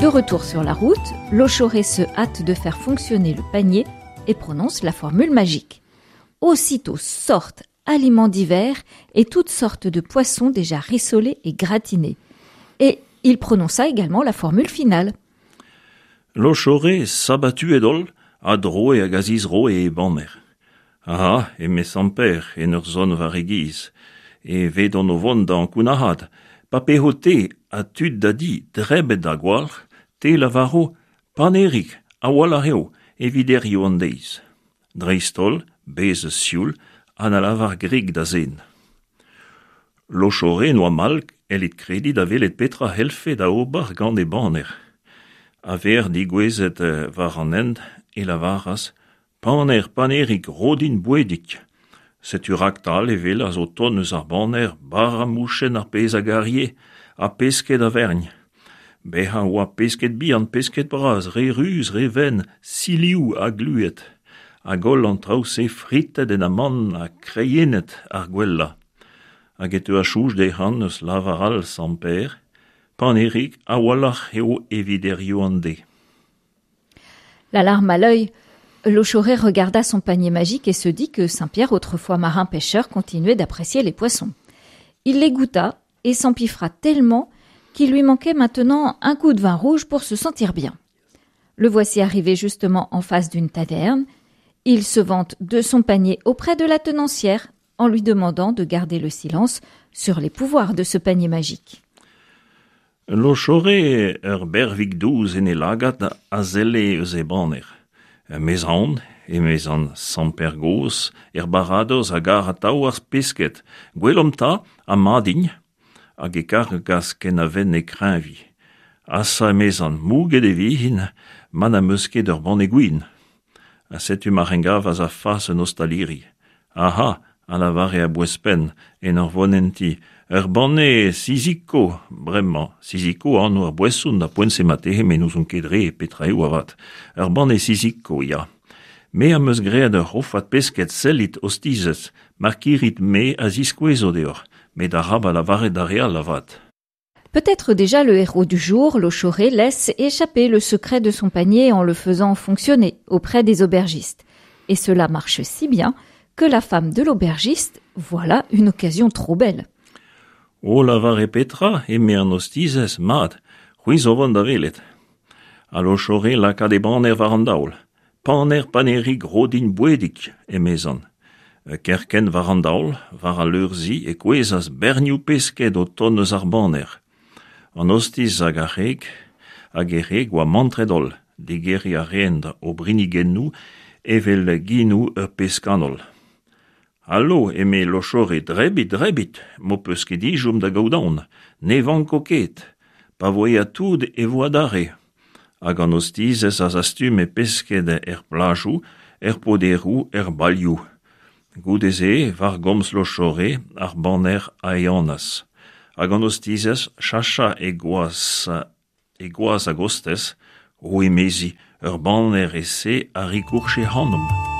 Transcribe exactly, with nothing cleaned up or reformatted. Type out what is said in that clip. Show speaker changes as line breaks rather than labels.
De retour sur la route, Lochoré se hâte de faire fonctionner le panier et prononce la formule magique. Aussitôt sortent aliments divers et toutes sortes de poissons déjà rissolés et gratinés. Et il prononça également la formule finale.
Lochoré sabatuet holl a droe hag a zizroe e baner. Aha, eme Sant-Pêr en ur zon war e giz, e vedon o vont da ankounac'haat, pa peho te ha tud da di drebet da gwalc'h, te lavaro panerig a-walc'h eo evit hiziv an deiz. Dreist-holl, bez sioul, ha na lavar grik da zen. Lochoré n'oa mall ellit krediñ da welet petra c'hellfe da ober gant e baner. A-vec'h digouezet war an hent e lavaras Paner, panerig, ro din bouedig. Setu raktal e welas o tont eus ar baner bara mouchenn ar pezh a garie ha pesked a-vergn. Bezañ oa pesked bihan, pesked bras, re ruz, re wenn, silioù ha glued. Hag holl an traoù-se fritet en amann ha kreienet ar gwellañ. Hag e teuas soñj dezhañ eus lavar all Sant-Pêr, Panerig a-walc'h eo evit hiziv an deiz.
La larme à l'œil, Lochoré regarda son panier magique et se dit que Saint-Pierre, autrefois marin pêcheur, continuait d'apprécier les poissons. Il les goûta et s'empiffra tellement qu'il lui manquait maintenant un coup de vin rouge pour se sentir bien. Le voici arrivé justement en face d'une taverne. Il se vante de son panier auprès de la tenancière en lui demandant de garder le silence sur les pouvoirs de ce panier magique.
Lochoré ur bervig dous en e lagad a selle eus e baner. 'Meus aon, emezan Sant-Pêr gozh, er baradoz a gar atav ar pesked. Gwelomp 'ta, ha mat int. Hag e kargas ken a venne kreñviñ. Asa emezan, mouget e vin, ma n'am eus ket ur banne gwin. Ha setu ma c'hengavas a-fas un ostaliri. Aha, a lavare a-bouez-penn en ur vont en ti. Ur banne siziko, bremañ. Siziko anv ar boeson da poent-se marteze met n'ouzon ket re petra eo avat. Ur banne siziko, ya. Me am eus graet ur c'hofad pesked sellit ostizez, mar kirit me a ziskouezo deoc'h, met arabat lavaret d'ar re all avat.
Peut-être déjà le héros du jour, Lochoré, laisse échapper le secret de son panier en le faisant fonctionner auprès des aubergistes. Et cela marche si bien que la femme de l'aubergiste, voilà une occasion trop belle.
O lavare petra, eme an ostizez, mat, c'hwi zo vont da welet. Ha Lochoré lakaat e baner war an daol. Paner, panerig, ro din bouedig, emezan. Kerkent war an daol, war al leur-zi, e kouezhas bernioù pesked o tont eus ar baner. An ostiz hag ar c'hreg, hag e c'hreg oa mantret holl, digeriñ a reent o brinigennoù evel genoù ur pezh kanol. Allo, eme Lochoré, drebit, drebit, m'ho peus ket ezhomm da gaout aon, ne vanko ket, pa vo aet tout e vo adarre. Hag an ostizez a zastume pesked er plajoù, er poderoù, er balioù. Goude-se, war gomz Lochoré, ar baner a ehanas. Hag an ostizez chacha e gwaz, e gwaz a-gostez, o emezi, ur baner e-se a rikourche ac'hanomp.